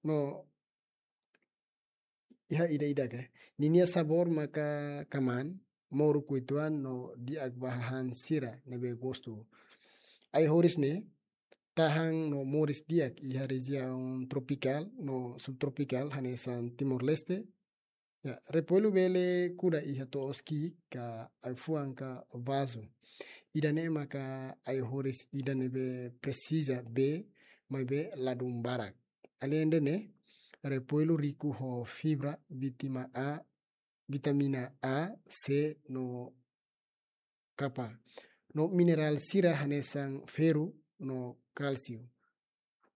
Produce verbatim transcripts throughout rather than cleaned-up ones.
No iha ida-idak, ninia sabór maka kamaan, moruk uitoan no di'ak ba hahán sira ne'ebé gostu. Ai-horis ne'e tahan no moris di'ak iha rejiaun tropikál no subtropikál hanesan Timor-Leste. Ya, repoilu bele kuda iha to'os ki'ik ka ai-fuan ka vazu. Ida-ne'e maka ai-horis ida ne'ebé presiza bee, maibé ladún barak. Alende ne'e, repoilu riku ho fibra, vitamina A, vitamina A, C no K, no minerál sira hanesan ferru no kálsiu.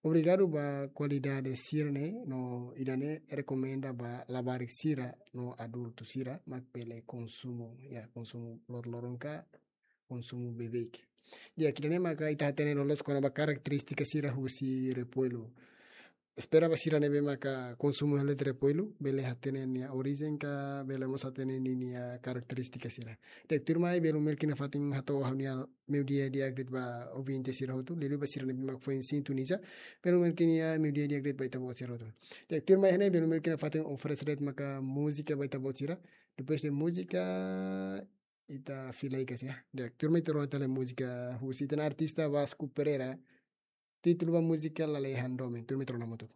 Obrigadu ba kualidade sira-ne'e, no ida-ne'e rekomenda ba labarik sira no adultu sira mak bele konsumu, ya, konsumu loron-loron ka konsumu beibeik. Ya, ida-ne'e maka ita hatene loloos kona-ba karakterístika sira husi repoilu. Espera ba sira ne'ebé maka konsumu hela de'it repoilu, bele hatene nia orijen ka, bele mós hatene ninia karakterístika sira. Di'ak, tuirmai, belun Melki nafatin hato'o ha'u-nia meiudia di'ak de'it ba ouvinte sira hotu, liuliu ba sira ne'ebé mak foin sintoniza, belun Melki nia meiudia di'ak de'it ba ita-boot sira hotu. Di'ak, tuirmai, iha ne'e belun Melki nafatin oferese de'it maka múzika ba ita-boot sira. Depois de múzika, ita fila ai-kasu, ya. Di'ak, tuirmai ita rona tiha lai múzika husi ita-nia artista Vasco Pereira. Títulu ba múzika Lalehan Domin. Tuirmai ita rona hamutuk.